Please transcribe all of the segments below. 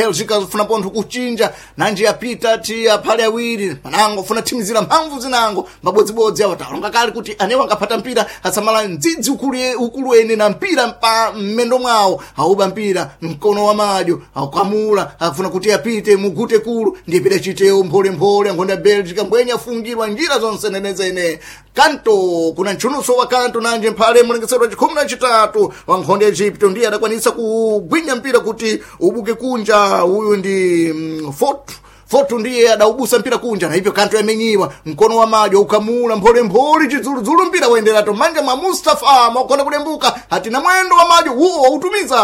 Belgica funa pontho kuchinja nanji yapita ti aphale awiri panango funa thimizira mphamvu zinango mabodzibodzi awo talonga kale kuti anewo angaphata mpira asamala mdzidzi ukulu ene na mpira pa mmendo mwawo auba mpira mkono wa madyo aukamula afuna kuti apite mugute kulu ndiye pida chitewo mpholemphole angonda Belgica mbwenye afungirwa njira zonse nenezene kanto kuna ntchunuso wa kanto nanje mphale mulengesero wa chikhumi na chitatu wa nkhonde ya Egypto ndiye adakwanisa kugwinya mpira kuti ubuke kunja uyu ndi Fotu Fotu ndiye adaubusa mpira kunja na hivyo kanto yamenyiwa mkono wa majo ukamula mpholemphole chidzuludzulu mpira waenderato manja mwa Mustafa mwakonda kulembuka hatina mwendo wa majo huo wautumiza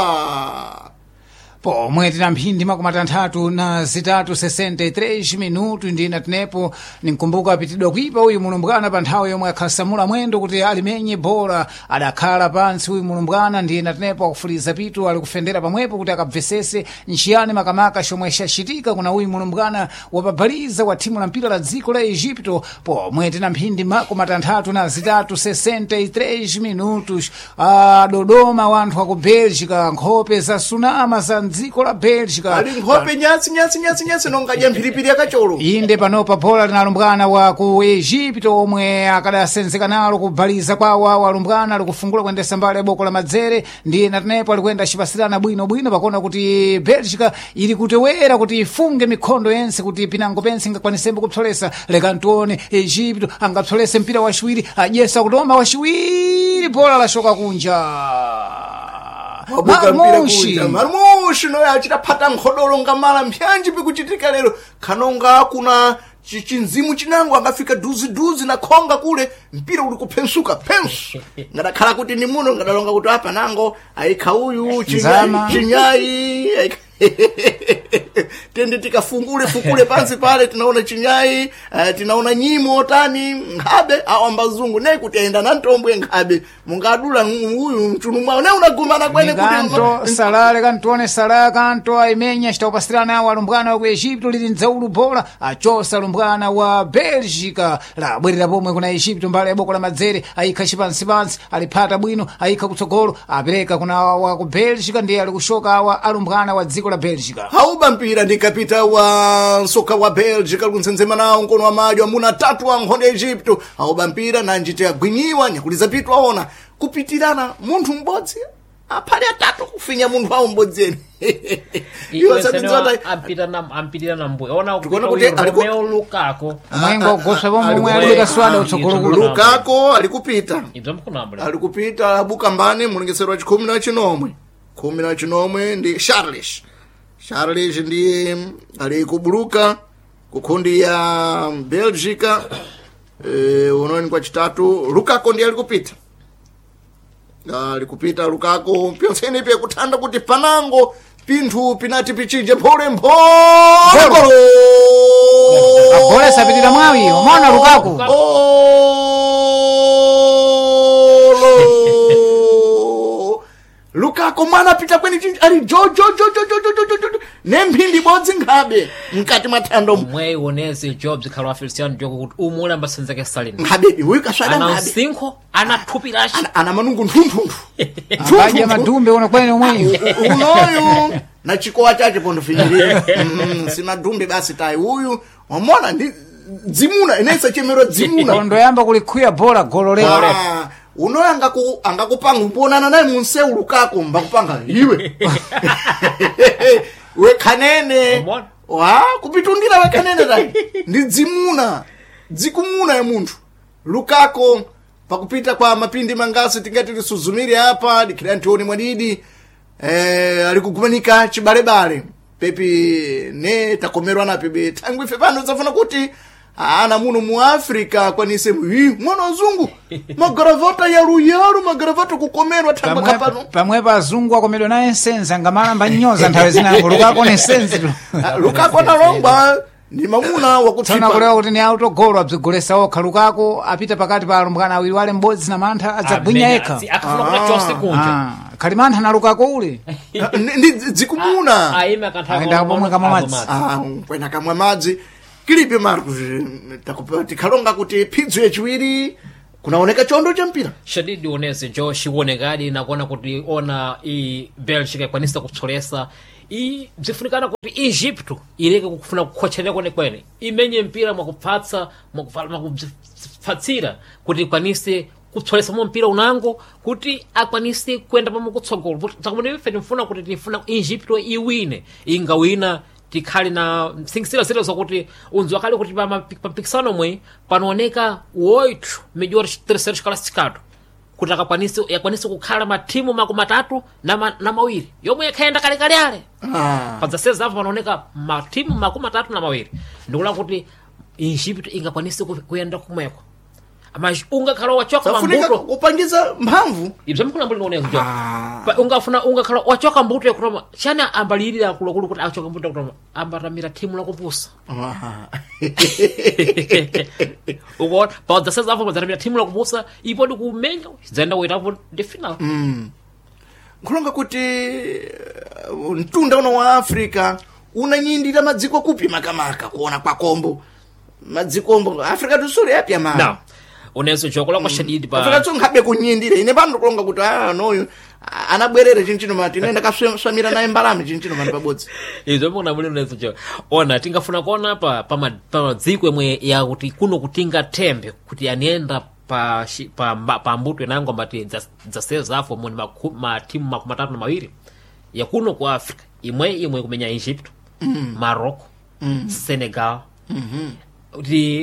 Pomwe tina mphindi makumi atanthatu na zitatu 63 minutu ndina tinepo ninkumbuka apitidwa kuipa uyu mulumbwana pa nthawi yomwe akhasamula mwendo kuti alimenye bora adakhala pansi uyu mulumbwana ndina tinepo akufuliza pitu ali kufendera pamwepo kuti akabvesese nchiyani makamaka chomwe chachitika kuna uyu mulumbwana wapabhaliza wa thimu la mpira la dziko la Egipto. Pomwe tina mphindi makumi atanthatu na zitatu 63 minutos Dodoma wanthu aku Belgica nkhope za sunama za dziko la Belgica ali nkhope nyatsi nyatsi nyatsi nyatsi nongadya mphiripiri yakacholo inde panopa bola linalumbwana wa ku Egipto omwe akadasenzeka nalo kubhaliza kwawo awo alumbwana alikufungula kuyendesa mbali ya boko la madzere ndiye natenepo alikuyenda acipasirana bwinobwino pakuona kuti Belgica ili kutewera kuti ifunge mikhondo yense kuti pinango pense ingakwanisembe kupsolesa. Leka ntione Egipto angapsolese mpira waciwiri adyesa kutoma waciwiri bola laxoka kunja. Wabuka mpira Marmushi. kunja marmushi noyo achitaphata nkhodolo ngamala mpyanji pikuchitika lero khanonga kuna chinzimu chinango angafika duziduzi na khonga kule mpira uli kuphensuka phensu ngadakhala kuti ni muno ngadalonga kuti apa nango ayikha uyu Nzama. chinyayi tende tikafungule fukule pansi pale tinaona chinyayi tinaona nyimo tani nkhabe awo ambazungu ne kuti ayenda na ntombwe nkhabe mungadula uyu mchunu mwawo ne unagumana kwene Kanto kuti salale kantione sala kanto aimenya citawupasirana awo alumbwana wa ku Egipto lili mdzaulu bola achosa alumbwana wa Belgica labwerera pomwe kuna Egipto mbali ya boko la madzere ayikha cipansipansi aliphata bwino ayikha kutsogolo apereka kuna wa ku Belgica ndiye ali kushoka awa alumbwana wa dziko la Belgica. Hauba mpira ndi kapita wa nsoka wa Belgica likuntsenzema nawo mkono wa madyo amuna atatu wa nkhondo ya Egypto hauba mpira nanjite agwinyiwa nyakuliza pitu aona kupitirana munthu m'bodzi aphale atatu kufinya munthu awo m'bodzi ene Iwo satinzota- ampitira na mbuya ona Tikuona kupita kuti uyu aliku- Romeo Lukaku Mwengo ugoswa pomwe omwe aliku- alibeka swada utsogolo kulo. Lukako alikupita ibzo mkunambula alikupita abuka mbane mulengesero wa chikhumi na chinomwe khumi na chinomwe ndi Charles Charles ndiye ali kubuluka kukhundi ya Belgica unoni kwa chitatu Lukako ndiye alikupita alikupita Lukako pyonsene pye kuthanda kuti panango pinthu pinati pichinje mphole mphole Golo. Agole sapitira mwawi umaona Lukaku Olo. Lukako mwana apita kweni chinji ali jo jo jo jo jo jo jo jo jo ne mphindi ibodzi nkhabe mkati mwa thando mwe oneze Jobs khala wa Feliciano Diogo kuti umwe ambasenzeke salini nkhabedi huyu kaswada ana nkhabe msinkho ana thupi lace ana manungu nthunthunthu Akaja madumbe uno kwene omweyo unoyu na chikowa chache pondofinyirira si madumbe basi tayi uyu wamona ndi dzimuna inensa chemero dzimuna kondo yamba kulikhuya bola golo lero Ah, unoyo angakupanga ukuonana naye munsewu Lukako mbakupanga iwe wekhanene Umona? wa kupitundira wekhanene tayi ndi dzimuna dzikumuna ya munthu Lukako pakupita kwa mapindi mangasi tingati lisuzumire apa dikhira ntione mwadidi alikugumanika chibalebale pepi ne takomerwa na pepe thangwi ife pano zafuna kuti ana muno mu Africa kwanise hi mwana wazungu magaravata yaluyalu magaravata kukomerwa thangwi kapano pamwepo azungu akomedwa naye nsenzi angamalamba nnyoza nthawi zinango Lukako ni nsenzi Ah, Lukako analongwa ndi mamuna tsono wakutsipa akulewa kuti ni autogolo abzigolesa okha Lukako apita pakati pa alumbwana awiri wale m'bodzi na mantha adzagwinya yekha akafuna kuti chose kunja Ah, khali mantha na Lukako ule Ndi dzikumuna aime akanthawi Ayenda pomwe kamwa madzi. Ah, kwena kamwa madzi kilipe Marcos tikhalonga kuti phidzo yachiwiri kunaoneka chondo cha mpira shadidi oneze jo xionekadi nakuona kuti ona i Belgica ikwanisa kutsolesa I bzifunikana kuti Egypto ileke kufuna kukhotcherera kwenekwene imenye mpira mwakupfatsa mwakupfatsira kuti ikwanise kupsolesamo mpira unango kuti akwanise kuyenda pamwe kutsogolo takumene ife timfuna kuti tifuna Egypto iwine ingawina tikhale na msingisira zile zakuti unziwa kale kuti pampikisano mwe panooneka 8 melhores terceiros classificados kuti akakwanise yakwanise kukhala mathimu makumi atatu na mawiri yomwe yakhayenda kalekale ale padzaseza apo panooneka mathimu 32 ndikula kuti Egypt ingakwanise kuyenda kumweko mas ungakhala wachoka safunika mambuto kupangiza mphamvu ibzo mkulambuli nioneka njo ungafuna ungakhala wachoka mbuto yakutoma chana ambalirira kulokulu kuti achoka mbuto yakutoma ambatamira thimu lakupusa ukuona padzaseza apo padzatamira thimu lakupusa ipo ndikumenya zayenda kuitapo ndi final. Nkhulonga kuti mtunda uno wa Africa unanyindira madziko kupi makamaka kuona kwakombo madzikombo Africa tusule yapya ma na unezo jokola kwa shadidi pa Africa tsonkhabe kunyindira ine pano kulonga kuti noyu anabwerere chinchino mati ine ndakaswamira naye mbalame chinchino mati pabodzi. Izo muna muli unezo jo ona tingafuna kuona pa pa madziko imwe yakuti kuno kutinga thembe kuti aniyenda pa pa mbuto inango mbati dzaseza afo muni mathimu 32 yakuno ku Africa imwe imwe kumenya Egypt, Morocco, Senegal.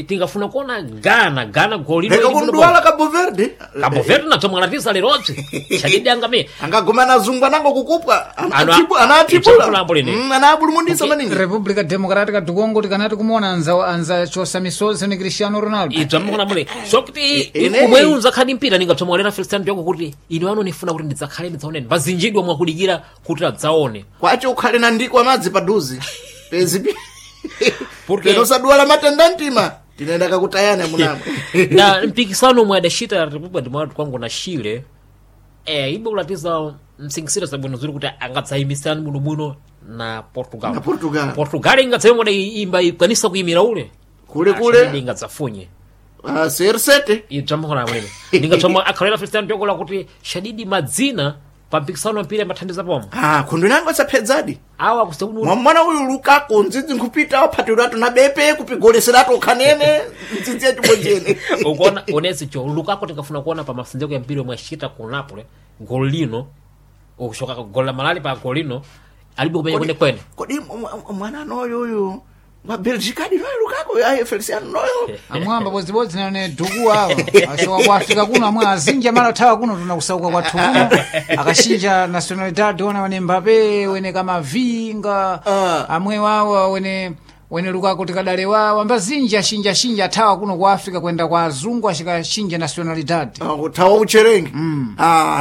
Tingafuna kuona Ghana Ghana golilo Leka kunduwala Cabo Verde. Cabo Verde nadzo mwalatisa lerobzi shadidi angame angaguma anazungu anango kukupwa anatibula anabulumundisa maningi. República Democrática do Congo tikanati kumuona anza chosa misozi ni Cristiano Ronaldo. Ibzo mukuna sokuti umwe unzakhali mpira ningapsomwalera Feliciano Diogo kuti ine wano nifuna kuti ndidzakhale ndidzaoneni vazinjidwa mwakudikira kuti adzaone kwacho ukhale na ndiko amadzi paduzi pezi porque nosaduwala matenda mtima tinaenda kakutayana munamwe. Na mpikisano omwe adacita República Democrática Congo na Chile ibe kulatiza msingisiro zabwino ziri kuti angadzayimisirani bwinobwino na Portugal. Na Portugal. Portugal ingadzayimwe imba ikwanisa kuyimira ule kule kule ingadzafunye CR7 ibzamukona mwene ningatsoma akhalera Feliciano Diogo lakuti shadidi madzina pa mpikisano wa mpira amathandiza pomwe khundu inango asaphedzadi awa kusekuti mwana uyu Lukaku ndzidzi nkhupita waphatiratu na bepe kupigoleseratu ukhanene ndzidzi yachibonjene. Ukuona onezi cho Lukaku tikafuna kuona pa masinzeko ya mpira omwe achita ku Napoli gol lino ukushoka gol la malali pa gol lino alibe kumenya kwene kwene. Kodi mwana noyo uyu wa Belgica di noyo Lukaku ayi Feliciano noyo amwamba bodzibodzi nane duku awa ashoka ku Africa kuno amwe azinja mala thawa kuno tunakusauka kwathu kuno akashinja nationalidade ona wene Mbappe wene Kamavinga amwe wawa wene wene Lukaku tikadale wawa mbazinji ashinja shinja athawa kuno ku Africa kwenda kwa azungu ashikashinja nationalidade. Kuthawa ucherengi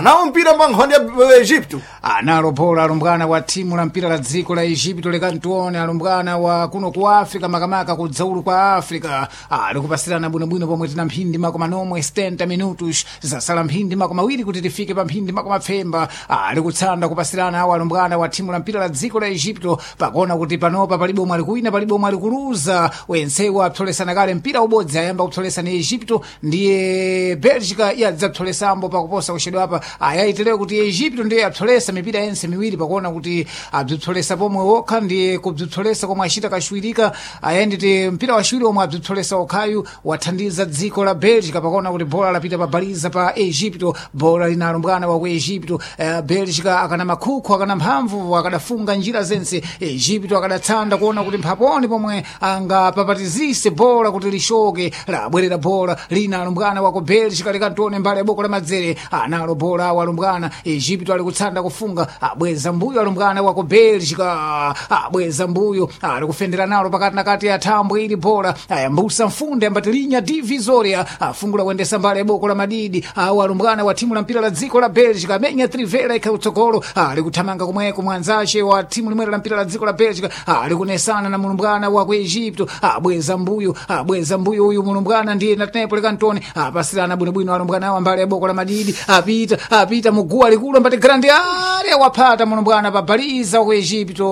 nawo mpira mba nkhondo ya Egypto. Analo bola alumbwana wa timu la mpira la dziko la Egypto lekantione alumbwana wa kuno ku Africa makamaka kudzaulu kwa Africa ali kupasirana bwinobwino pomwe tina mphindi makoma nomwe 70 minutos zasala mphindi makoma awiri kuti tifike pa mphindi makoma pfemba ali kutsanda kupasirana awo alumbwana wa timu la mpira la dziko la Egypto pakuona kuti panopa palibe omwe ali kuwina palibe omwe ali kuluza wensewo apsolesana kale mpira ubodzi ayamba kupsolesana Egypto ndiye Belgica yadzapsolesambo pakuposa kuchedwa apa ayaitireko kuti Egypto ndiye yapsolesa mipira yense miwiri pakuona kuti abzipsolesa pomwe wokha ndiye kubzipsolesa komwe achita kachiwirika ayenditi mpira wachiwiri omwe abzipsolesa okhayu wathandiza dziko la Belgica pakuona kuti bola lapita pabaliza pa Egypto bola linalumbwana wa ku Egypto Belgica akana makhukhu akana mphamvu akadafunga njira zense Egypto akadatsanda kuona kuti mphaponi pomwe angapapatizise bola kuti lishoke labwerera bola lina alumbwana wa ku Belgica likantione mbali ya boko la madzere analo bola awo alumbwana Egypto ali kutsanda kufunga abweza mbuyo alumbwana wa ku Belgica abweza mbuyo ali kufendera nalo pakati na kati ya thambwe ili bola ayambusa mfunde ambatilinya divisoria afungula kuendesa mbali ya boko la madidi awo alumbwana wa timu la mpira la dziko la Belgica amenya trivela ikha utsogolo ali kuthamanga komweko mwanzace wa timu limwera la mpira la dziko la Belgica ali kunesana na mulumbwana wa ku Egypto abweza mbuyo abweza mbuyo uyu mulumbwana ndiye natenepo lekantoni apasirana bwinobwino alumbwana awo mbali ya boko la madidi apita apita muguwa likulu ambati grande area waphata mulumbwana pabaliza ku Egypto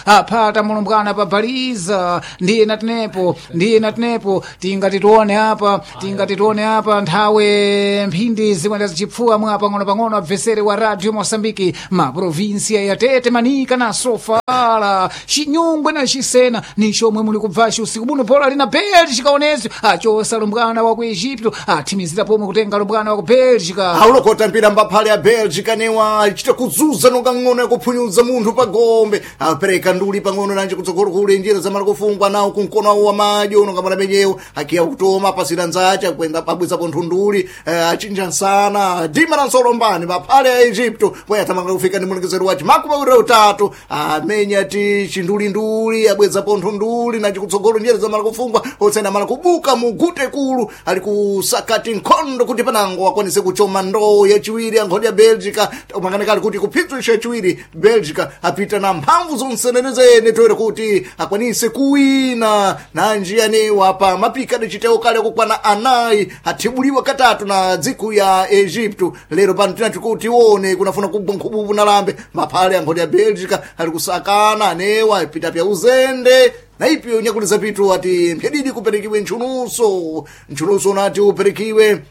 Aphata mulumbwana pa baliza ndiye natinepo, ndiye natinepo. Tingati tione apa, tingati tione apa nthawe mphindi zikwenda zichipfuwa mwa pang'ono-pang'ono. Abvesere wa Radio Mosambiki, maprovinsia ya Tete, Manika na Sofala, Chinyungwe na Chisena ni chomwe muli kubvaci usiku buno. Bola lina Bélgica onezo achosa lumbwana wa ku Egipto, athimizira pomwe kutenga lumbwana wa ku Bélgica. Aulokota mpira mbaphale ya Belgica newa achita kuzuza nonga ng'ono yakuphunyuza munthu pa gombe, apereka nduli pang'ono nanje kutsogolo kule njira zamala kufungwa nawo kunkono awo wa madyo nonga mwana menyewo akiya kutoma pasira nzace akwenda pabwizapo nthunduli, achinja nsana dima na nsolo mbani maphale ya Egypto poya athamanga kufika ndi mulengezero wace 23 amenya ti chindulinduli abwezapo nthunduli nanje kutsogolo njira zamala kufungwa otsena mala kubuka mugute kulu ali kusakati nkhondo kuti panango akwanise kuchoma ndoo yachiwiri ya nkhondo ya Belgica umanganekali kuti kuphidzwisha yachiwiri Belgica apita na mphamvu zonsenenezene toere kuti akwanise kuwina nanji anewa pa mapika adacitewo kale akukwana anayi athibuliwa katatu na dziko ya Egypto. Lero pano tinati kuti tione kunafuna kugwa nkhububu na lambe maphale ya nkhondo ya Belgica ali kusakana anewa apita pya uzende na ipyo nyakuliza pitu ati mphedidi kuperekiwe ntchunuso ntchunuso unati uperekiwe.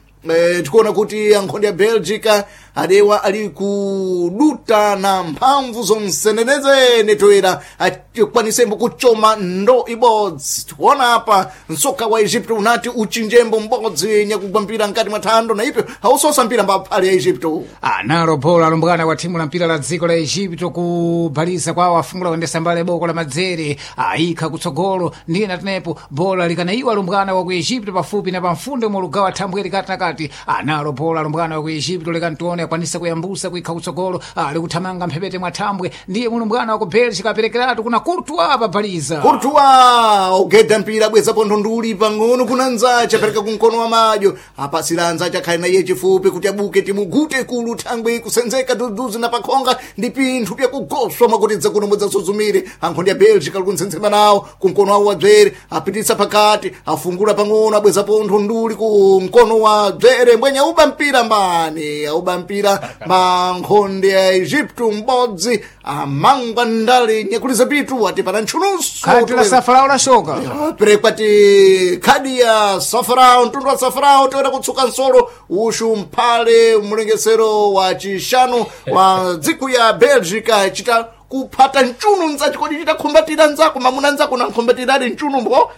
Tikuona kuti ankhondo ya Belgica adewa ali kuduta na mphamvu zonsenenezene toera akwanisembo kuchoma ndo ibodzi. Tikuona apa msoka wa Egypto unati uchinjembo mbodzi nyakugwa mpira mkati mwa thando na ipyo hausosa mpira mbaphale ya Egypto. Analo bola alumbwana wa thimu la mpira la dziko la Egipto kubhaliza kwawo afungula kuyendesa mbale boko la madzere ayikha kutsogolo ndiye natinepo bola likanaiwa alumbwana wa ku Egipto pafupi na pamfundo mulugawa thambwe likati nakati. Analo bola alumbwana wa ku Egipto likantione akwanisa kuyambusa kuikha kutsogolo ali kuthamanga mphepete mwa thambwe ndiye mulumbwana wa ku Belgica aperekeratu kuna Courtois pabhaliza. Courtois ogeda mpira abwezapo nthunduli pang'ono kuna nzace apereka kumkono wa madyo apasira nzace akhale na iye chifupi kuti abuke timugute kulu thangwe kusenzeka duduzi na pakhonga ndi pinthu pyakugoswa mwakutidza kuno mudzasuzumire ankhondo ya Belgica ali kuntsensema nawo kumkono wawo wa dzere apititsa pakati afungula pang'ono abwezapo nthunduli ku mkono wa dzere mbwenye auba mpira mbani auba mpira mankhonde ya Egypto m'bodzi amangwa ndale nyakuliza pitu ati pana ntchunuso Khadi la safarao lashoka. Perekwati khadi ya safarao mtundu wa safarao toera kutsuka nsolo ushu mphale mlengesero wa chishanu wa dziko ya Belgica chita kuphata mchunu nzachikodi chitakhumbatira nzako mamuna nzako nankhumbatiradi mchunu mbo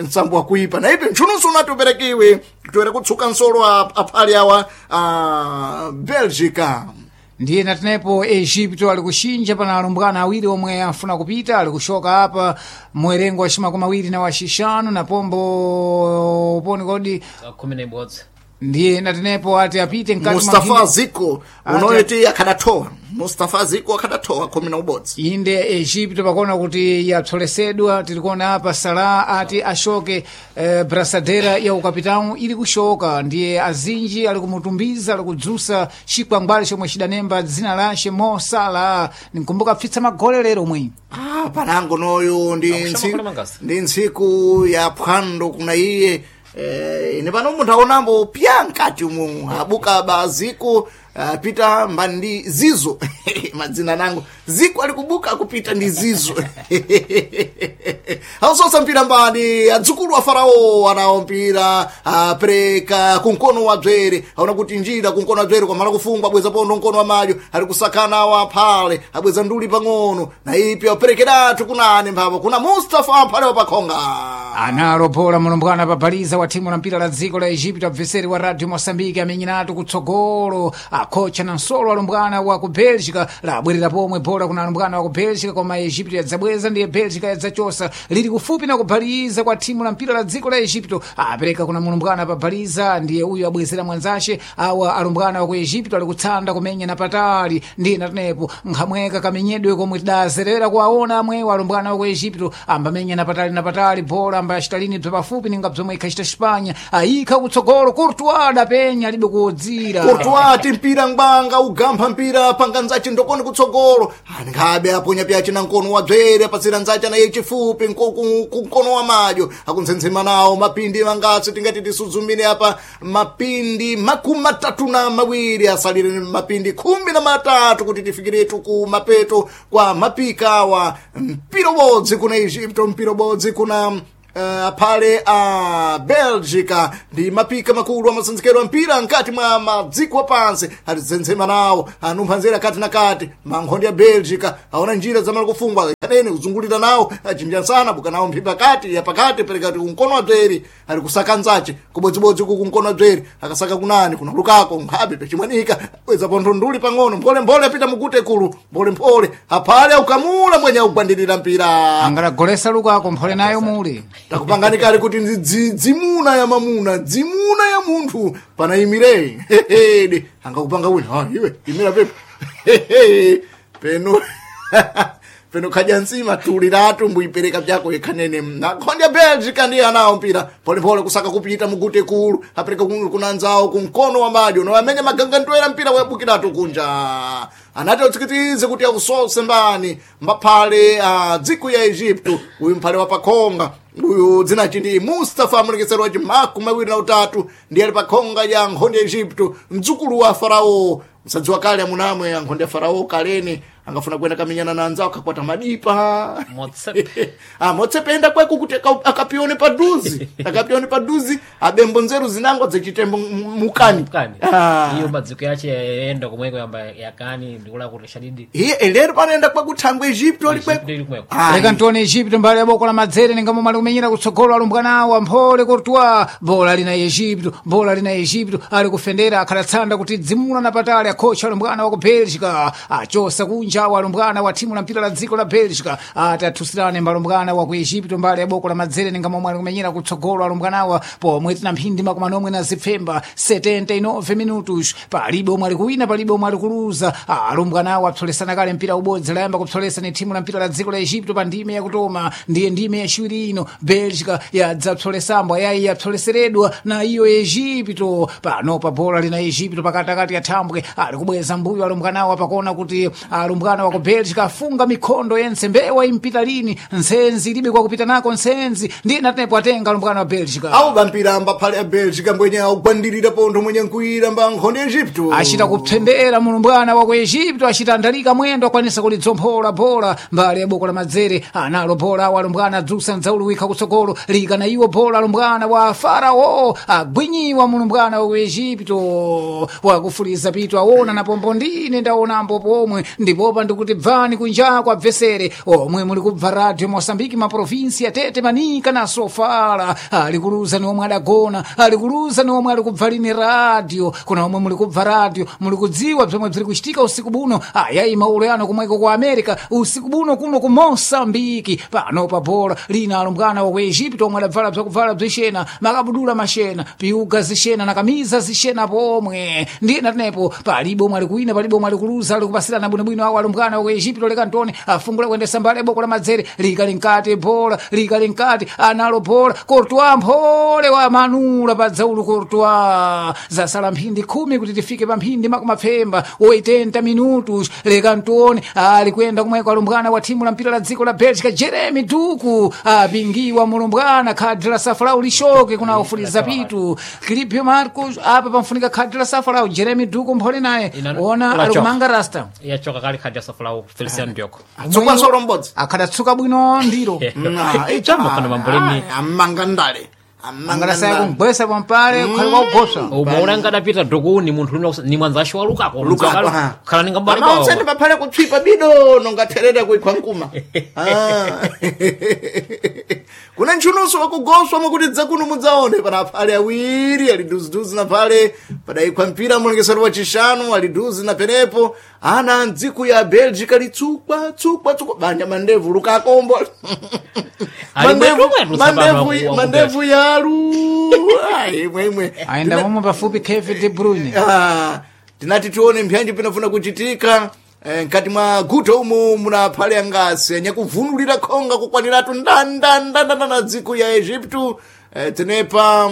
nsambo wakuipa na ipi mchununso unati uperekiwe toera kutsuka nsolo aphale awa a Belgica. Ndiye natinepo Egipto ali kuxinja pana alumbwana awiri omwe afuna kupita ali kushoka apa muwerengo wa cimakumi awiri na waxixanu na pombo poni kodi 11. Ndiye natinepo ati apite mkati mwa Mustafa mphindi- Ziko unoyeti akhadathowa Mustafa Ziko akhadathowa 11. Inde Egipto pakuona kuti yapsolesedwa tilikuona apa Salah ati ashoke brasadera ya ukapitão ili kushoka ndiye azinji ali kumutumbiza ali kudzusa chikwangwale chomwe chidanemba dzina lace Mo Salah ninkumbuka pfitsa magole lero mwi. Ah, panango noyo ndi Akushama kule mangasa. ndi ntsiku ya phwando kuna iye ine pano munthu aonambo pya mkati umu abuka baziko pita mbandi zizo madzina nango ziko ali kubuka kupita ndi zizo ausosa mpira mbani adzukulu wa farao anawo mpira apereka kumkono wa dzwere aona kuti njira kumkono wa dzwere kwamala kufungwa abweza pondo mkono wa madyo ali kusakana awo aphale abweza nduli pang'ono na ipi aperekeratu kunane mphapo kuna Mustafa aphale wapakhonga. Analo bola mulumbwana pabaliza wa thimu la mpira la dziko la Egipto abveseri wa Radio Mosambiki amenyeratu kutsogolo akhocha na nsolo alumbwana wa ku Belgica labwerera pomwe bola kuna alumbwana wa ku Belgica koma Egipto yadzabweza ndiye Belgica yadzachosa lili kufupi na kubaliza kwa thimu la mpira la dziko la Egipto apereka kuna mulumbwana pabaliza ndiye uyu abwezera mwanzace awa alumbwana wa ku Egipto ali kutsanda kumenya na patali ndiye natenepo nkhamweka kamenyedwe komwe tidazerera kuwaona amwewo alumbwana wa ku Egipto ambamenya na patali na patali bola amba achitalini bza pafupi ninga bzomwe ikhachita Xipanya ayikha kutsogolo Courtois adapenya alibe kuwodzira. Courtois ati mpira mpira ngwanga ugampha mpira panga nzace ndokoni kutsogolo anikhabe aponya pyace na nkono wa bzere apatsira nzace naye chifupi kunkono wa madyo akuntsensema nawo mapindi mangatsi tingati tisudzumire apa mapindi 32 asalire mapindi 13 kuti tifikiretu ku mapeto kwa mapikawa mpira ubodzi kuna Egipto mpira ubodzi kuna aphale a Belgica ndi mapika makulu amasanzikero a mpira nkati mwa madziko apansi atizenzema nawo anumpha nzera kati na kati mankhondi ya Belgica aona njira zamala kufungwa kanene kuzungulira nawo achinja buka nawo mphipa kati ya pakati perekati kumkono wa bzeri ali kusaka nzace kubodzibodzi uku kumkono wa bzeri akasaka kunani kuna Lukako nkhabe pechimwanika weza pontho nduli pang'ono mpholemphole apita mugute kulu mpholemphole aphale aukamula mwenye augwandirira mpira angalagolesa Lukako mphole nayo muli takupangani kale kuti dzimuna ya mamuna dzimuna ya munthu panayimire hehede angakupanga wina ah, iwe imira pepo Hehe. peno peno khadya nsima tuliratu mbuipereka pyako yekhanene nakhonde ya Belgica ndiye anawo mpira polepole kusaka kupita mugute kulu apereka kunanzawo kumkono wa madyo noamenya magangantwera mpira wayabukiratu kunja anati utsikitize kuti ausose mbani mbaphale dziko ya Egipto uyu mphale wa pakhonga uyu dzinachi ndi Mustafa mulekesero waci 23 ndiye ali pakhonga ya nkhondo ya Egipto mdzukulu wa Farao msadziwa kale amunamwe ya nkhondo ya Farao kalene angafuna kuenda kamenyana na anzawo akakwata madipa Motsepe. Motsepe enda kweko kuti akapione paduzi akapione paduzi abembo nzeru zinango dzichitembo mukani Mukani. Iyo madziko yache enda komweko yamba yakani ndikula kuti shadidi iye elero panoenda kwakuthangwe Egipto ali kweko Egipto ili kweko. Leka ntione Egipto mbali ya boko la madzere ninga momwe ali kumenyera kutsogolo alumbwana awo amphole Courtois bola lina Egipto bola lina Egipto ali kufendera akhalatsanda kuti dzimula na patali akhocha alumbwana wa ku Belgica achosa kunja awo alumbwana wa thimu la mpira la dziko la Belgica ati athusirane mbalumbwana wa ku Egipto mbali ya boko la madzere ninga momwe ali kumenyera kutsogolo alumbwana awa pomwe tina mphindi makumi anomwe na zipfemba 79 minutos palibe omwe ali kuwina palibe omwe ali kuluza alumbwana awo apsolesana kale mpira ubodzi layamba kupsolesa ni thimu la mpira la dziko la Egipto pa ndime yakutoma ndiye ndime yaciwiri ino Belgica yadzapsolesambwa yayi yapsoleseredwa na iyo Egipto panopa bola lina Egipto pakatikati ya thambwe ali kubweza mbuyo alumbwanawo apakona kuti alumbwana wa ku Belgica afunga mikhondo yense mbewa impita lini nsenzi ilibe kwakupita nako nsenzi ndiye natenepo atenga alumbwana wa Belgica awo bampira mbaphale ya Belgica mbwenye augwandirira pontho mwenye nkuira mba nkhondo ya Egipto achita kupsendera mulumbwana wa ku Egipto achita andalika mwendo akwanisa kulidzomphora bola mbali ya boko la madzere analo bola awo alumbwana adzusa ndzawuluwikha kutsogolo lika na iwo bola alumbwana wa Farao agwinyiwa mulumbwana wa ku Egipto wakufuliza pitu aona na pombo ndine ndaonambo pomwe ndipopa ndikuti bvani kunjako abvesere omwe muli kubva radio Mosambiki maprovinsi ya Tete Manika na Sofala ali kuluza ni omwe adagona ali kuluza ni omwe ali kubva lini radio kuna omwe muli kubva radio muli kudziwa bzomwe bziri kuchitika usiku buno ayayi maulo yano kumweko ku America usiku buno kuno ku Mosambiki pano pa bola lina alumbwana wa ku Egipto omwe adabvala bzakuvala bzixena makabudula maxena piuga zixena na kamiza zixena pomwe ndiye natenepo palibe omwe ali kuwina palibe omwe ali kuluza ali kupasirana bwinobwino awo alumbwana wa ku Egipto leka ntoni afungula kuyendesa mbali ya boko la madzere likali nkati bola likali nkati analo bola Courtois mphole wa manula pa dzaulu Courtois zasala mphindi 10 kuti tifike pa mphindi makumapfemba 80 minutos leka ntione ali kuyenda kumweko alumbwana wa thimu la mpira la dziko la Belgica Jeremy Duku apingiwa mulumbwana khadi la safalau lishoke kuna ufuliza pitu Filipio Marcos apa pamfunika khadi la safalau Jeremy Duku mphole naye ona ali kumanga rasta yachoka kale khadi ya safalau Feliciano Diogo tsukwansolo mbodzi akhadatsuka bwino ndiro Chamba kana mamboleni amanga ndale angalasaya kumgwesa pampale kukhale kwakugosa umaona angadapita Doku ni munthu lino ni mwanzashi wa Lukako Lukako, ha. khala ninga mbali amaonse ndi paphale kutswipa bido nongatherera kuikhwa nkuma kuna ntchununso wakugoswa mwakuti dzakuno mudzaone pana aphale awiri ali duziduzi na phale padayikhwa mpira mulengesero wa chishanu ali duzi na penepo ana mdziko ya Belgica litsukwa tsukwa tsukwa banja mandevu Lukakombo Ali bwetu tsapano mandevu yalu Ai, imwe imwe ayenda momwe pafupi Kevin De Bruyne tinati tione mpyanji pinafuna kuchitika nkati mwa guto umu muna phale angasi anyakuvunulira khonga kukwaniratu ndandandandanda dziko ya Egipto tenepa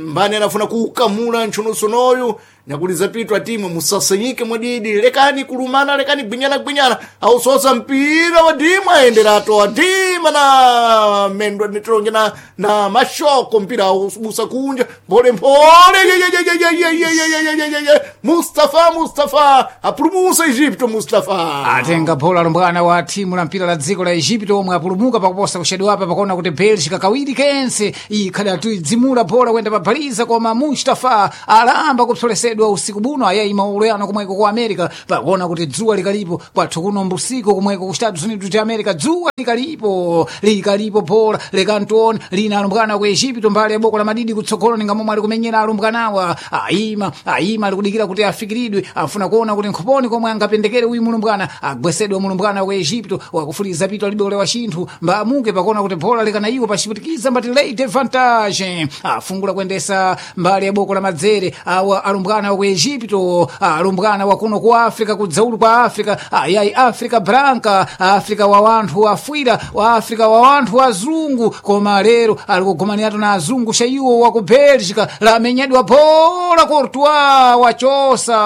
mbani anafuna kuukamula ntchunusunoyu Nyakulizapitwa timu musasanyike mwadidi, lekani kulumana, lekani gwinyana gwinyana, ausosa mpira wa dimu aenderato wa dima na mendwa nitonge na mashoko mpira aubusa kunja mpole mpole ye, ye, ye, ye, ye, ye, ye, ye, ye, ye, ye. Mustafa Mustafa apulumusa Egipto Mustafa Atenga bola alumbwana wa timu la mpira la dziko la Egipto omwe apulumuka pakuposa kuxedwapa pakuona kuti Bélgica kawiri kense ikhadatidzimula bola kuyenda pabaliza koma Mustafa alamba kupsolesedwa usiku buno ayayima uleyano kumweko ku America pakuona kuti dzuwa likalipo kwathu kuno mbusiku kumweko ku Estados Unidos de America dzuwa likalipo likalipo bola lekantiona lina alumbwana ku Egipto mbali ya boko la madidi kutsogolo ninga momwe ali kumenyera alumbwanawa ayima ayima alikudikira kuti afikiridwe afuna kuona kuti nkhoponi komwe angapendekere uyu mulumbwana agwesedwa mulumbwana wa Egipto wakufuliza pito alibe ulewa chinthu mbamuke pakuona kuti bola likanayiwa pachiputikiza mbati late vantage afungula kuyendesa mbali ya boko la madzere awa alumbwana wa ku Egipto alumbwana wa kuno ku Africa kudzaulu kwa Africa ayayi Africa branca Africa wa wanthu afwira wa Africa wa wanthu azungu koma lero ali kugomaniratu na azungu shaiwo wa ku Bélgica lamenyedwa bola Courtois wachosa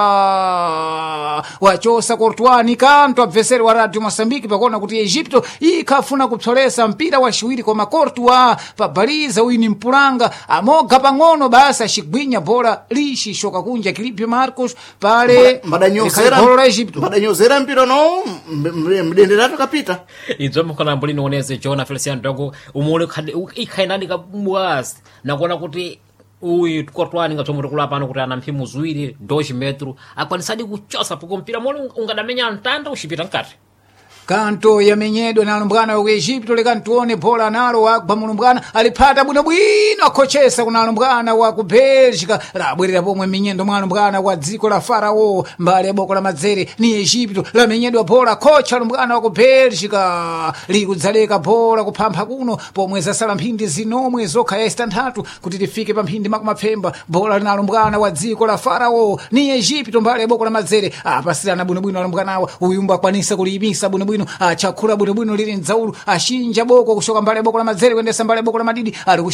wachosa Courtois ni kanto abveseri wa Radio Mosambiki pakuona kuti Egipto ikhafuna kupsolesa mpira waciwiri koma Courtois pabaliza uyu ni mpulanga amoga pang'ono basi acigwinya bola lixixoka kunja Kilipio Marcos pale mbadanyozera likhali golo la Egipto mbadanyozera mpira no mdenderato kapita idzo mukhalambo linooneze jona Feliciano Dogo umule ikhainadi kabwasi nakuona kuti uyu Courtois ninga tsomwe tikula pano kuti ana mphimu ziwiri 2 metro akwanisadi kuchosa poko mpira mole ungadamenya mtanda uxipita mkati Kanto yamenyedwa na alumbwana wa ku Egipto lekantione bola nalo wagwa mulumbwana aliphata bwinobwino akhochesa kuna alumbwana wa ku Bélgica labwerera pomwe minyendo mwa alumbwana wa dziko la Farao mbali ya boko la madzere ni Egipto lamenyedwa bola khocha alumbwana wa ku Bélgica likudzaleka bola kuphampha kuno pomwe zasala mphindi zinomwe zokha ya istanthatu kuti tifike pa mphindi makumapfemba bola lina alumbwana wa dziko la Farao ni Egipto mbali ya boko la madzere apasirana bwinobwino alumbwanawa uyumba akwanisa kuliyimisa bwinobwino achakhula bwinobwino lili mdzaulu achinja boko kushoka mbali ya boko la madzere kuyendesa mbali ya boko la madidi ali